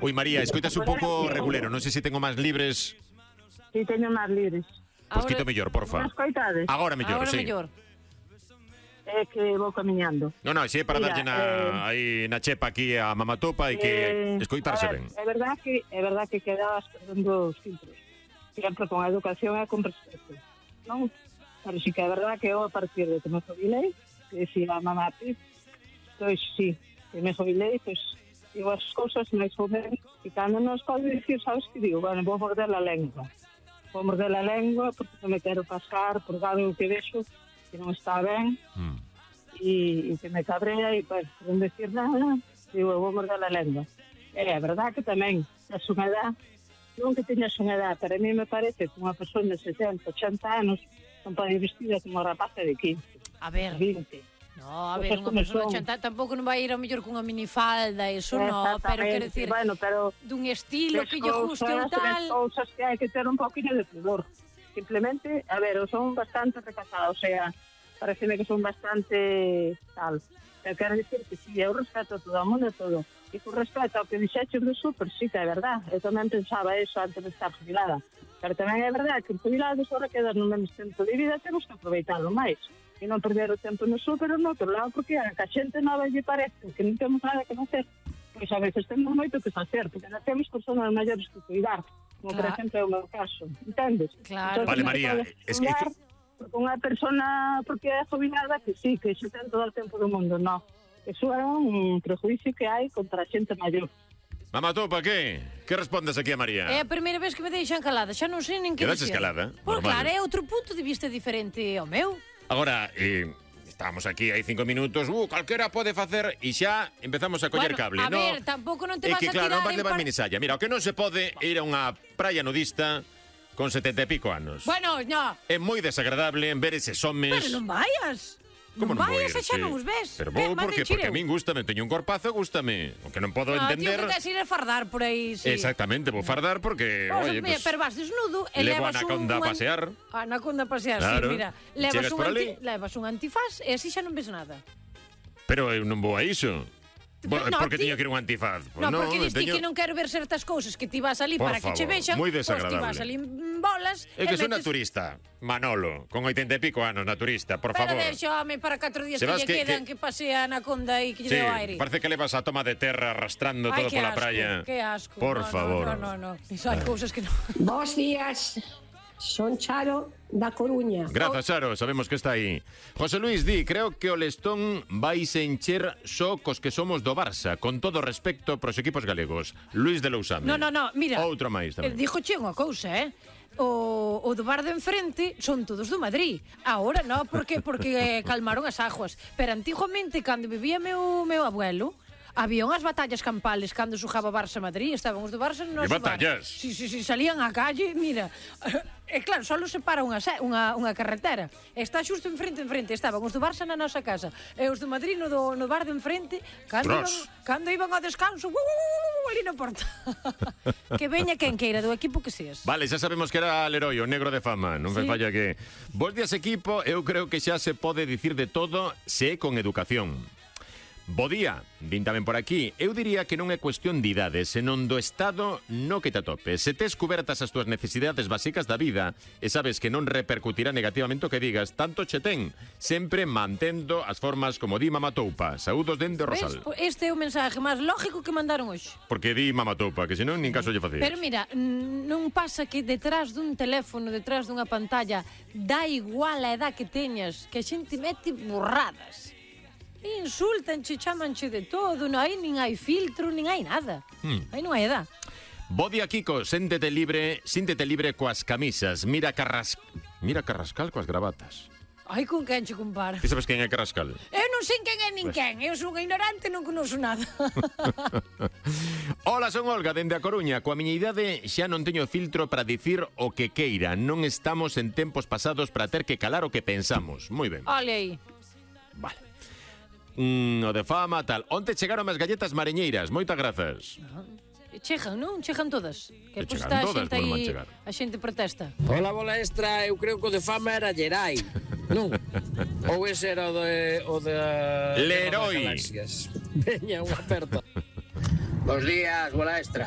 Ui, María, escoitas un pouco regulero. Non sei se tengo máis libres. Si, teño máis libres. Pois quito mellor, porfa. Non escoitades? Agora mellor, sí. É que vou camiñando. Non, é para darlle aí na chepa aquí a Mamatopa e que escoitarse ben. É verdad que quedabas perdendo os filtros. Sempre con a educación e con respeto. Non? Pero sí que é verdad que eu a partir de que me jubilei, que si a mamá pois sí, que me jubilei, pois digo as cousas máis ou menos, e cando non os podo dicir, sabes que digo, bueno, vou morder a lengua. Vou morder a lengua porque non me quero pasar por algo que vexo que non está ben e que me cabrea e pues, non decir nada, digo, vou morder a lengua. É verdad que tamén a súa edad, non que teñas unha edad, pero a mí me parece que unha persona de 70, 80 anos non pode ir vestida como unha rapaza de 15. A ver, 20. No, a ver, unha persona de 80 tampouco non vai ir ao mellor cunha minifalda, eso non, pero quero dicir, bueno, pero dun estilo que lle guste ou tal. Cousas que hai que ter un poquinho de pudor. Simplemente, a ver, eu son bastante recatada, o sea, pareceme que son bastante tal. Eu quero dicir que si, eu respeto a todo o mundo e todo. E con respeto ao que dixeches do súper, sí que é verdad. Eu tamén pensaba eso antes de estar jubilada. Pero tamén é verdad que jubilados ahora quedar no mesmo tempo de vida temos que aproveitarlo máis. E non perder o tempo no súper ou no outro lado, porque a que a xente nova lle parece que non temos nada que facer. Pois a veces temos moito que facer, porque non temos personas maiores que cuidar. Como por exemplo é o meu caso, entendes? Claro. Vale, María, es que... Unha persona porque é jubilada que sí, que xe ten todo o tempo do mundo, non. Eso é un prejuicio que hai contra a xente maior. Mamatopa, que? Que respondes aquí a María? É a primeira vez que me deixan calada, xa non sei nin que Quedas dicir. escalada? Por Normal. claro, é outro punto de vista diferente ao meu. Agora, estábamos aquí hai 5 minutos, calquera pode facer e xa empezamos a coller cable, a no? ver, tampouco non te É vas que a claro, tirar non vas en levar minisalla. Mira, o que non se pode é ir a unha praia nudista con 70 e pico anos. Bueno, no. É moi desagradable ver eses homes. Pero non vayas. Como non vayas vou ir, e xa sí. non os ves. Pero vou porque a min gústame, teño un corpazo, gústame. O que non podo entender. Tío, que tes ir a fardar por aí, sí. Exactamente, vou fardar porque, oye, pues, pero vas desnudo e levo levas a Anaconda a pasear. Anaconda a pasear, claro. sí, mira. Levas un antifaz e así xa non ves nada. Pero eu non vou a iso. Bueno, porque tiño que ir un antifaz. Pues no, porque diste que non quero ver certas cousas que ti vas ali por para favor, que che vexan. moi desagradable. Ti vas ali en bolas. É que son naturista, Manolo, con 80 e pico anos, naturista, por favor. Pero deixame para 4 días que lle quedan que pase a Anaconda e que lle deu aire. Parece que levas a toma de terra arrastrando todo pola praia. Que asco. Por favor. No. Iso hai cousas que non. Bos días. Son Charo da Coruña. Grazas, Charo, sabemos que está aí. José Luis di, creo que o Lestón vai se encher só cos que somos do Barça, con todo respecto pros equipos galegos. Luis de Lousame. No, mira. Outro máis tamén. Díjoche unha cousa, O do bar de enfrente son todos do Madrid. Ahora non, porque calmaron as aguas. Pero antiguamente, cando vivía meu abuelo, había unhas batallas campales cando xogaba Barça-Madrid, estaban os do Barça no noso bar. batallas? Sí, salían á calle, mira. E claro, só separa unha carretera. Está xusto enfrente, estaban os do Barça na nosa casa e os do Madrid no bar de enfrente, cando iban ao descanso, ali na porta. Que veña quen queira do equipo que seas. Vale, xa sabemos que era Leroy, o negro de fama. Non me falla que... Bos días, equipo. Eu creo que xa se pode dicir de todo se é con educación. Bo día, vin tamén por aquí. Eu diría que non é cuestión de idade, senón do estado no que te atopes. Se tes cubertas as túas necesidades básicas da vida e sabes que non repercutirá negativamente o que digas, tanto che ten, sempre mantendo as formas como di Mamatoupa. Saúdos dende Rosal. Este é o mensaje máis lógico que mandaron hoxe. Porque di Mamatoupa, que senón nin caso lle facías. Pero mira, non pasa que detrás dun teléfono, detrás dunha pantalla, dá igual a edad que teñas, que a xente mete burradas. Insultanche, chamanche de todo, non hai nin hai filtro, nin hai nada. Aí non hai edad. Bo día, Kiko, síntete libre coas camisas. Mira Carrascal coas gravatas. Ai, con quen che compara? Ti sabes quen é Carrascal? Eu non sei quen é nin quen. Eu son ignorante, non conozco nada. Hola, son Olga, dende a Coruña. Coa miña idade xa non teño filtro para dicir o que queira. Non estamos en tempos pasados para ter que calar o que pensamos. Moi ben. Olha aí. Vale. O de fama, tal. Onte chegaron as galletas mareñeiras. Moitas grazas. Chegan, non? Chegan todas. Que chegan todas, a xente aí, a xente protesta. Hola, bola extra, eu creo que o de fama era Gerai, non? Ou ese era o de Leroy. Veña, unha aperta. Bos días, bola extra.